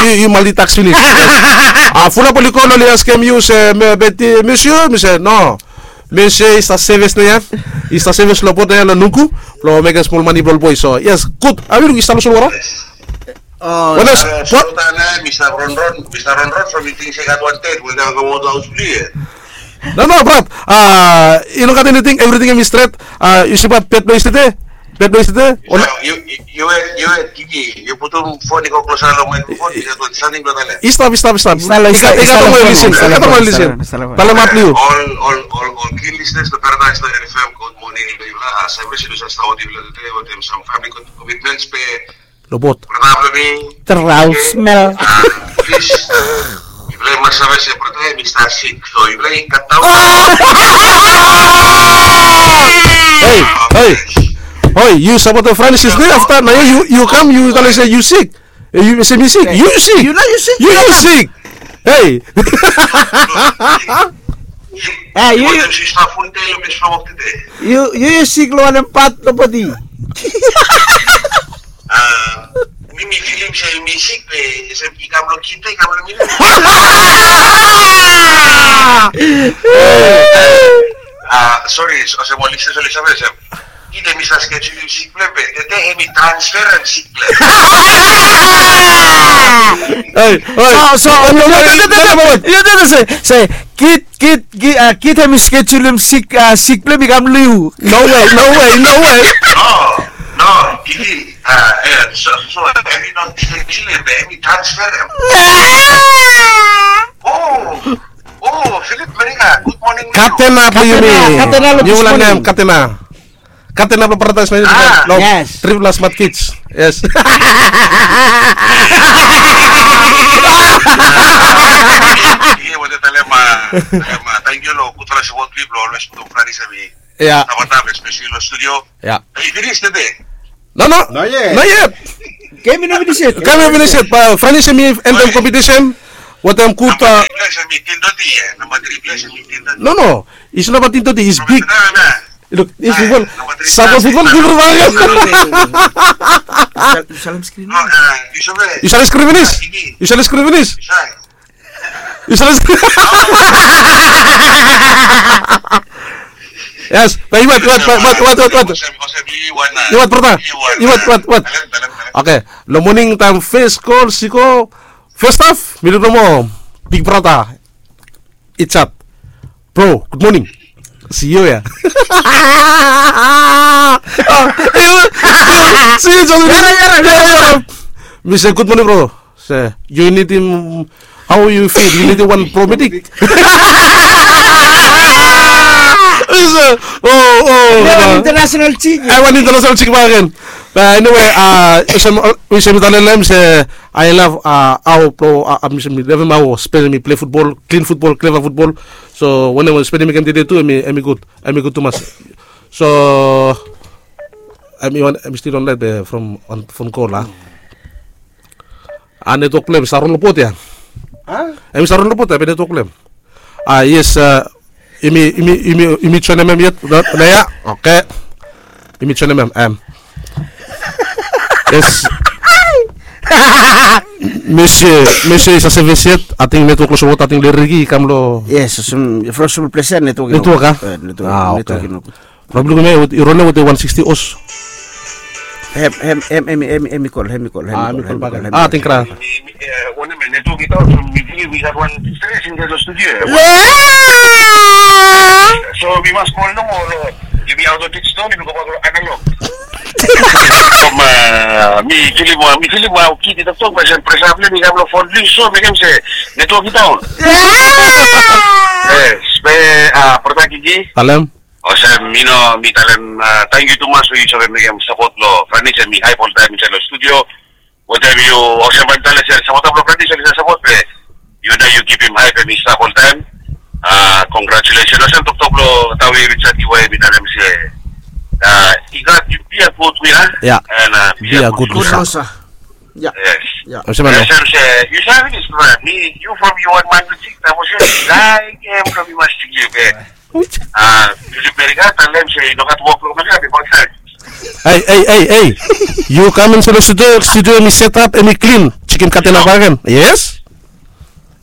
Yu, yu multitask finis. Ah, fulap oli kol, oli askem yu se, Messi, mi se no. Messi i stap seves nao ya. I stap seves long bot ya long Nuku blong mekem smol mane blong ol boe. So yes, gud. Hemi luk i stap long solwota. Wanem spot? Mi stap ronron, mi stap ronron from mi ting se i gat wan ted we i kam kamoto haos blong yu ya. No, no, brat. Ah, i no gat eniting, evriting hemi stret. Ah, yu stap bet blong yestede? Bet blong yestede? Yu, yu, yu, yu, Kiki, yu putum fon i go klosa long maikrofon, yu gat wan samting blong talem. I stap, i stap, i stap. I gat, i gat wan lisin, i gat wan lisin. Talemaot blong yu. Ol, ol, ol, ol keen listeners long Paradise ninety-eight F M, gud moning long yufala. Ah, save se yufala stap wetem, wetem sam famili commitments be long bot. Brata blong mi. Travel smell. Ah, plis. Yufala i mas save se brata hemi stap sik. So yufala i katdaon. Hei, hei. Hoi, yu sapotem Francis, nao afta nao yu, yu kam, yu talem se yu sik. Eh, yu se mi sik. Yu sik. Yu nao yu sik. Yu, yu sik. Hei. Eh, yu, yu. Yu, yu sik long wanem pat long bodi? Ah, mi, mi filim se mi sik be, se i kam long kidney, i kam long mi. Ah, sori, olsem ol listeners oli save olsem. Kit hemi sa skedul hem sik blong hem be tede hemi transfer hem sik blong hem. Hey, hey. So, so, yu tede se, se, Kit, Kit, Kit, ah, Kit hemi skedul hem sik, ah, sik blong hem i kam long yu. No way, no way, no way. No, no, Kiki, ah, eh, so, so, hemi no skedul hem be hemi transfer hem. Oh, oh, Philip Merika, good morning. Katena blong yumi. Katena, katena, good morning. Niu lanem Katena. Katena blong Paradise Mansion long Triple R Smart Kids. Yes. Yu wantem talem, ah, talem, ah, tangkiu long gudfala sapot blong yu blong olwes putum Franis hemi stap antap, espeseli long studio. Ya. Hemi finis tede? No, no. Not yet. Not yet. Gem i no finis yet. Gem i no finis yet. Be Franis hemi endem kompetisen wetem gud, ah, namba tri ples hemi tin toti, eh, namba tri ples hemi tin toti. No, no. It's namba tin toti, it's big. Look, it's football. Sapot football, give it back. Yu save, yu save screen. Yu save screen finis? Yu save screen finis? Yu save screen. Yes, be yu wet, wet, wet. Yu wet, brata. Yu wet, wet, wet. Okay, long moning taem fes gol, si go. Fes haf, mi luk nomo. Big brata. It's up. Bro, good morning. See you ya. See you, John. Mi se, good morning, bro. Se, yu nidim, how yu feel? Yu nidim wan paramedic? Mi se, oh, oh. Wan international chick. Ai, wan international chick bakegen. Be anyway, ah, olsem, olsem mi talem long hem se, I love, ah, hao, bro, ah, mi se mi lavem hao spel, hemi plei futbol, klin futbol, kleva futbol. So wanem, spel hemi gem tede tu, hemi, hemi gud, hemi gud tumas. So hemi wan, hemi stil online be from, from kol, ah. Ah, netwok blong hem i stap ron long bot ya. Hemi stap ron long bot ya be netwok blong hem. Ah, yes, ah, yumi, yumi, yumi, yumi joenem hem yet nao ya. Okay. Yumi joenem hem, em. Yes. Mese, mese i save se yet, ating netwok long sapot, ating Leriki i kam long. Yes, from, from ples ya netwok i no gud. Netwok, ah? Eh, netwok, ah, netwok i no gud. Problem hemia, i ron ya wetem wan sixty os. Hem, hem, hem, hemi kol, hemi kol, hemi kol bakegen. Ah, tingkra. Mi, mi, eh, wanem, netwok i daon, so mi bilif we gat wan stress insaed long studio ya. So mi mas kol nomo long, yumi aot long digital, yumi gobak long analog. From, ah, mi filim, ah, mi filim, ah, Kit i toktok, be olsem presa blong hem i kam long fon blong yu, so mekem se netwok i daon. Yes, be, ah, brata Kiki. Talem. Olsem, yu no, mi talem, ah, tangkiu tumas we yu save mekem sapot blong Franis hemi haep oltaem insaed long studio. Wetem yu, olsem bae mi talem se sapota blong Franis hemi save sapot be yu nao yu givim haep hemi stap oltaem. Ah, congratulations. Olsem toktok blong Tawi Richard Iwai, mi talem se, ah, i gat, yu be a good winner. Ya. And, ah, be a good loser. Good loser. Ya. Yes. Ya. Olsem se yu save finis, bro. Mi, yu from yu wan man blong tik, na mo se, like, em, from yu mas tik yu be. Ah, Philip Merika, talem se i no gat wok long Merika bifo taem. Ei, ei, ei, ei. Yu kam insaed long studio, studio hemi set up, hemi klin. Chicken katena bakegen. Yes?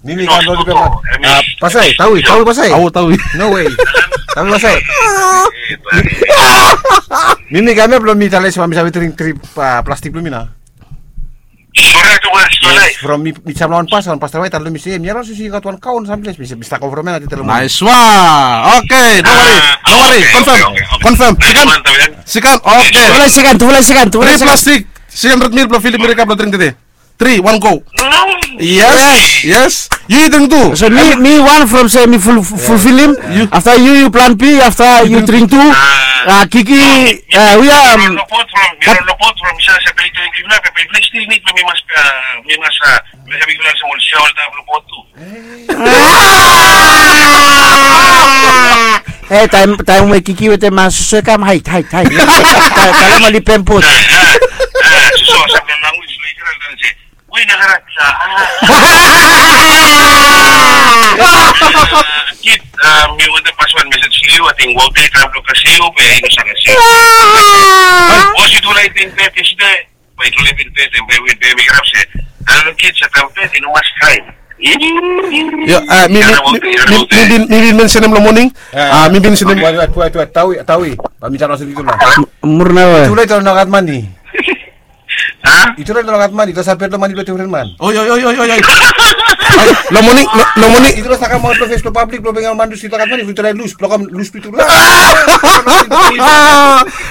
Mi, mi kam long dipe man. Ah, Pasai, Tawi, Tawi Pasai. Awo, Tawi. No way. Tawi Pasai. Mi, mi kam ya blong mi talem se mi save dring tri, ah, plastik blong mi nao. Yes, from mi, mi kam long wan pasta, wan pasta bae i talem long mi se, mi araon se i gat wan kaon samples, mi se, mi stap go from ya, na telo. Nice one. Okay, no worry, no worry. Confirm, confirm. Sikan, sikan, okay. Tufala sikan, tufala sikan, tufala sikan. Tri plastik, tri handred mil blong Philip Merika blong dring tede. Tri, wan go. Yes, yes. Yu dring tu. So mi, mi wan from se mi ful, fulfilim. Afta yu, yu plan B, afta yu dring tu. Ah, Kiki, ah, we are, um, Hei, taem, taem we Kiki wetem, ah, Susu i kam, haed, haed, haed. Talem oli pempot. Kit, ah, mi wantem pas wan mesej long yu, ating wok dei i kam blong kasem yu be i no save kasem yu. Bos, yu dufala i ting be tede. Bae i no lef in pes, bae i win, bae mi kirap se, ah, Kit, satem pes i no mas kraem. Yo, a, mi, mi, mi, mi, mi bin, mi bin mensenem long moning. A, mi bin mensenem. Wait, wait, wait, wait, Tawi, Tawi. Ba mi tara olsem, Tula. Murnau, e. Tula i tara nogat mane. A? Tula i tara nogat mane, tara sapet long mane blong difren man. Oi, oi, oi, oi, oi. Long moning, long, long moning. Tula save kamaot long fes blong pablik blong bengem ol man tu i tara nogat mane, Tula i lus, blong kam lus blong Tula.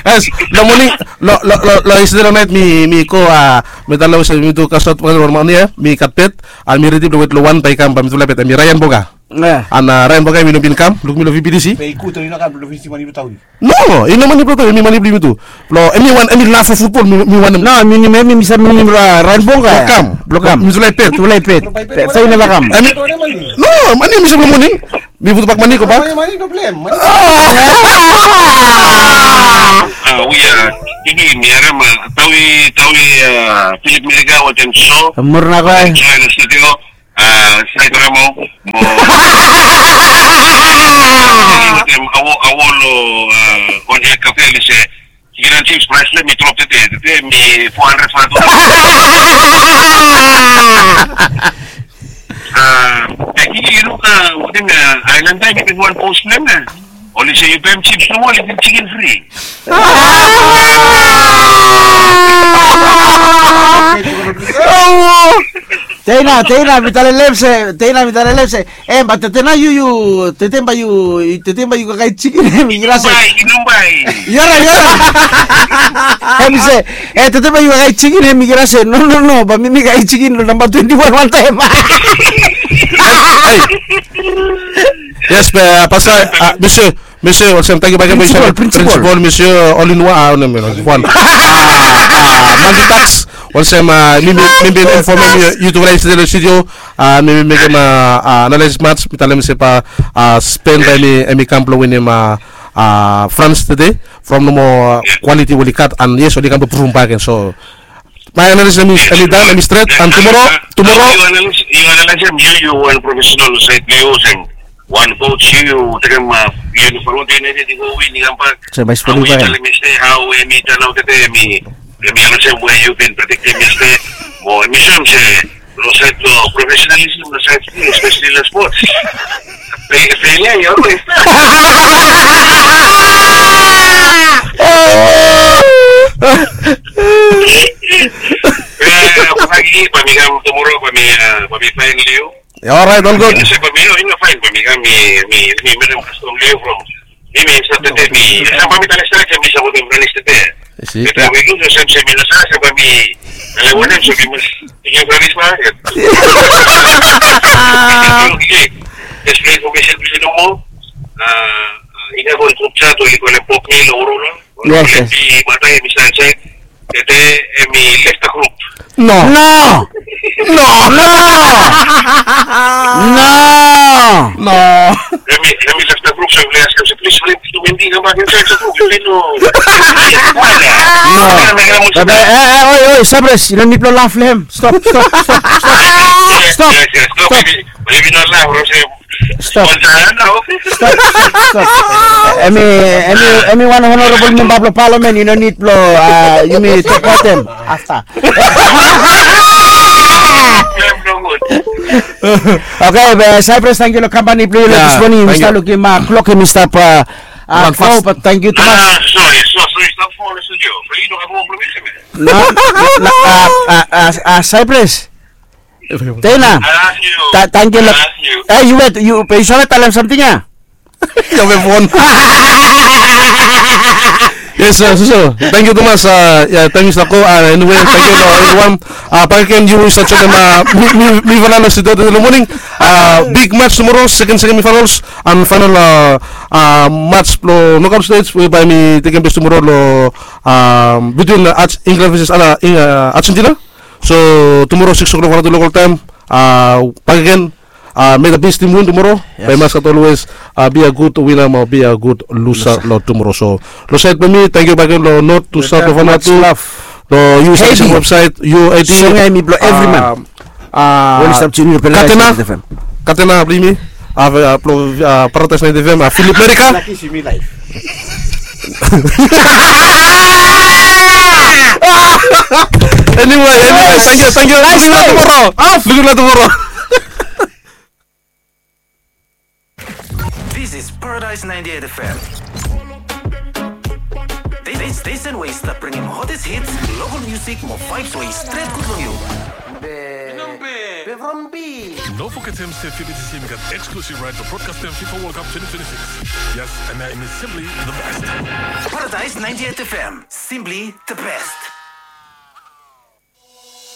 Yes, long moning, long, long, long, long yestede long naet mi, mi go, a, mi talem olsem mi tu kasot wan mane, e, mi gat bet, a, mi redi blong wet long wan bae i kam, bae mi tu lae bet, hemi Ryan Boga. An, a, Ryan Boga, hemi no bin kam, luk mi long V B T C. Be i gud, i no kam long V B T C, mane blong Tawi. No, i no mane blong Tawi, hemi mane blong yumi tu. Long eniwan, eni lav long futbol, mi, mi wantem. No, mi, mi, mi, mi save, mi, mi, Ra-, Ryan Boga. Blong kam. Blong kam. Mi tu lae bet. Tu lae bet. Be i neva kam. Hemi, no, mane hemi stap long moning. Mi putbak mane, gobak. Mane, mane, no problem. A, we are, mi, mi harem, a, Tawi, Tawi, a, Philip Merika, wetem Joe. Murnau, e. Joe in the studio. A, Sai Karamo, mo. Wetem Awo, Awo lo, a, Konje Kafe, mi se, chicken and chips price blong hem i drop tede, tede hemi four hundred, five hundred. A, e, yu, yu luk, a, wetem, a, Island Time, i bin wan post blong hem, a. Oli se yu baem chips nomo, oli givim chicken free. Teina, Teina, mi talem se, Teina, mi talem se, e, be tede nao yu, yu, tede bae yu, tede bae yu kakae chicken, hemi kirase. Yu no bae, yu no bae. Yora, yora. Hemi se, e, tede bae yu kakae chicken, hemi kirase. No, no, no, bae mi, mi kakae chicken lo namba twenty-one wantaem. Hei. Yes, be, a, pasta, a, Mister, Mister, olsem, tangkiu bakegen. Principal, principal. Principal, Mister All in One, a, no, no, no, wan. A, a, Mandy Tax, olsem, a, mi, mi, mi bin infomem yu, yu tu, right, long studio, a, mi, mi mekem, a, a, analysis match, mi talem se bae, a, Spain bae hemi, hemi kam blong winim, a, a, France tede, from nomo, a, quality we oli gat, and yes, oli kam blong provem bakegen, so, my analysis hemi, hemi done, hemi stret, and tomorrow, tomorrow. Yu analysis, yu analysis, yu, yu wan professional saed blong yu, olsem wan coach, yu, yu tekem, a, yu no folem United i go win, i kambak. So, bae spot yu bae. Hao hemi turn out tede, hemi, hemi olsem we yu bin prediktem yestede. Mo hemi soem se long saed blong professionalism, long saed, especially long sports. Fe-, failure i always. E, bae mi kam tomorrow, bae mi, a, bae mi faen long yu. Alright, all good. Yu no se bae mi, yu no faen, bae mi kam, mi, mi, mi mekem kastom long yu from mi, mi stap tede, mi, bae mi talem stret se mi sapotem France tede. Be we lus, olsem se mi no save se bae mi talem wanem, so mi mas tekem France bakegen. Okei. Jes blong infomesen blong yu nomo. A, a, i gat wan grup chat we oli kolem Pop Mi long Aurora. Yes, yes. Oli matai, Mister Anchai. Tede hemi lef the group. No. No. No. No. No. Hemi, hemi lef the group, so hemi askem se please, please, tu Wendy, kambak insaed the group. Yu no. No. Be, be, e, e, oi, oi, Sabres, yu no nid blong laf long hem. Stop, stop, stop, stop. Stop. Yes, yes, stop. Stop. Bae yu no laf, bro, se Stop. Stop, stop, stop. Hemi, hemi, hemi wan honorable member blong parliament, yu no nid blong, a, yumi tok wetem afta. Okei, be, Cyprus, tangkiu long kampani blong yu long this morning. Yumi stap lukim, a, klok hemi stap, a, go, but tangkiu tumas. No, no, no, Cyprus. Teina. Tangkiu. E, yu wet, yu, be yu save talem samting ya? Yu have fon. Yes, sir, so, so. Tangkiu tumas, a, ya, tangkiu Sako, a, anyway, tangkiu long evriwan. A, bakegen yu save joenem, a, mi, mi, mi Fernando Sido tede long moning. A, big match tomorrow, second, second semifinals, and final, a, a, match blong knockout stage, whereby mi tekem ples tomorrow long, a, between, a, Arge-, England versus, a, Argentina. So tomorrow six o'clock, one o'clock local time, a, bakegen, a, may the best team win tomorrow. Yes. Bae i mas gat always, a, be a good winner mo be a good loser long tomorrow. So long saed blong mi, tangkiu bakegen long North to South of Vanuatu. Long U S F C website, U A D. Katena, katena blong yumi. A, blong, a, Paradise ninety F M, a, Philip Merika. Anyway, anyway, tangkiu, tangkiu. Lukim nao tomorrow. Lukim nao tomorrow. is Paradise ninety-eight F M. This station we stap bringim hottest hits, local music mo vibes we stret good long you. Be, be from B. No forget him say F I F A B T C him gat exclusive right for broadcasting FIFA World Cup twenty twenty-six. Yes, and that is simply the best. Paradise ninety-eight F M, simply the best.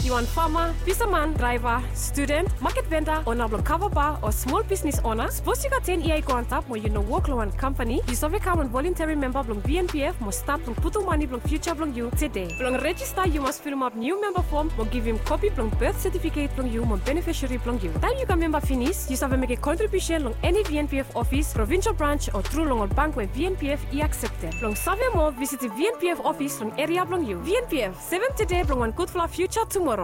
Yu wan fama, fisaman, draeva, studen, maket venda, ona blong kava ba o smol bisnis ona? Sapos yu gat ten yia i go antap mo yu no wok long wan kampani, yu save kam wan volunteri memba blong V N P F mo stat blong putum mane blong fiuja blong yu tede. Blong rejista yu mas filimap niu memba fom mo givim kopi blong birth setifiket blong yu mo benefisari blong yu. Taem yu kam memba finis, yu save mekem kontribiusen long eni V N P F ofis, provinsel brans o tru long ol bank we V N P F i akseptem. Blong save moa, visitim V N P F ofis long eria blong yu. V N P F, sevem tede blong wan gudfala fiuja tumoro.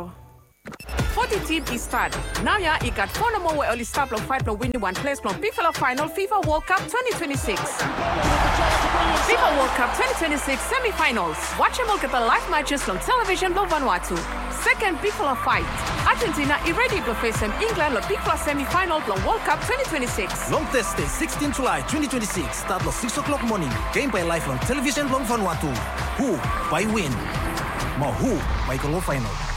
Foti tim i stat. Naoia i gat fo nomo we oli stap long faet blong winim wan ples blong bigfala faenol FIFA World Cup twenty twenty-six. FIFA World Cup twenty twenty-six semifinals. Wajem olgeta laev matches long televisen blong Vanuatu. Seken bigfala faet. Argentina i redi blong fesem England long bigfala semifaenol blong World Cup twenty twenty-six. Long Thursday, sixteen July twenty twenty-six, stat long six o'clock moning. Gem bae laev long televisen blong Vanuatu. Hu bae win? Mo hu bae go long faenol?